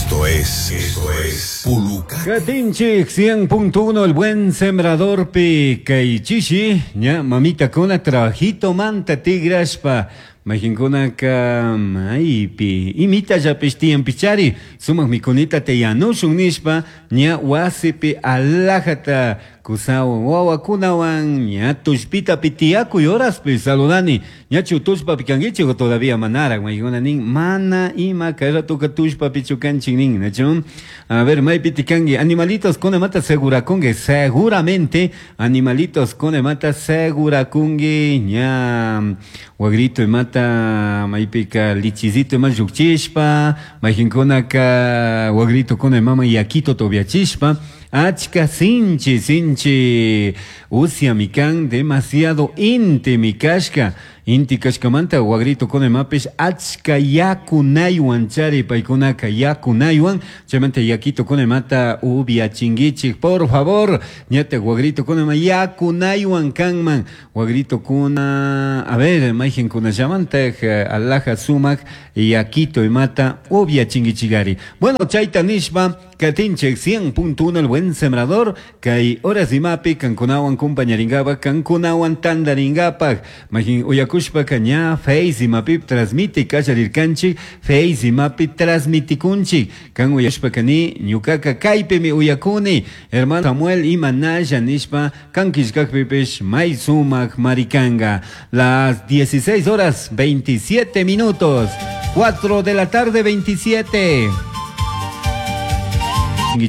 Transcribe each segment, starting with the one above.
Esto es Puluca. Katinchik 100.1 el buen sembrador pi kay chishi ña mamita kuna trabajito manta tigrashpa mayqinkunaka maypi imitallapish tiyanpichari sumaq mikunita yanushun nishpa ña wasipi alajata kusawan wawakunawan ña tullpitapi tiyakuy horaspi saludani. Ñachu tullpapi kankichik o todavía manaraq? Mayqinkuna nin mana ima kay ratoka tullpapichu kanchik nin, nachu? A ver, maypiti kanki? Animalitos kunamanta segurakunki, seguramente animalitos kunamanta segurakunki ña wagrito imata maypika lichizito ima llukchishpa, mayqinkunaka wagritukuna imaman yakituta upiachishpa. Achka sinchi sinchi usyami kan, demasiado intimi kashka. Inti kashkamanta wagritukuna imapish achka yakunaywan chari paykunaka yakunaywan. Chaymanta yakitukuna imata upiachinkichik, por favor. Ñatak wagritukuna ima yakunaywan kanman wagritukuna. A ver, mayqinkunallamantaj alaja sumak yakito imata upiachinkichikari. Bueno, chayta nishpa katinchik 100.1 el buen sembrador kay horas imapi kankunawan kumpañarinkapak, kankunawan tantarinkapak. Mayqin uyakushpaka ña Face imapi transmite kallarirkanchik, Face imapi transmitikunchik. Kan uyashpaka ni ñukaka kaypimi uyakuni, hermano Samuel, imanalla nishpa kan killkakpipish may sumak marikanka. Las 16 horas 27 minutos, 4 de la tarde 27.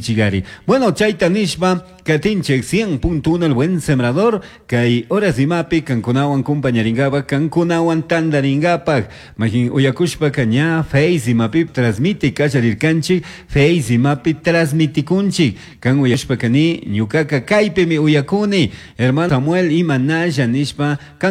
Chigari. Bueno, chayta nishpa katinchik 100.1 el buen sembrador kay horas imapi kankunawan kumpañarinkapak, kankunawan tantarinkapak. Mayqin uyakushpaka ña Face imapi transmite kallarirkanchik, Face imapi transmitikunchik. Kan uyashpaka ni ñukaka kaypimi uyakuni, hermano Samuel, imanalla nishpa kan.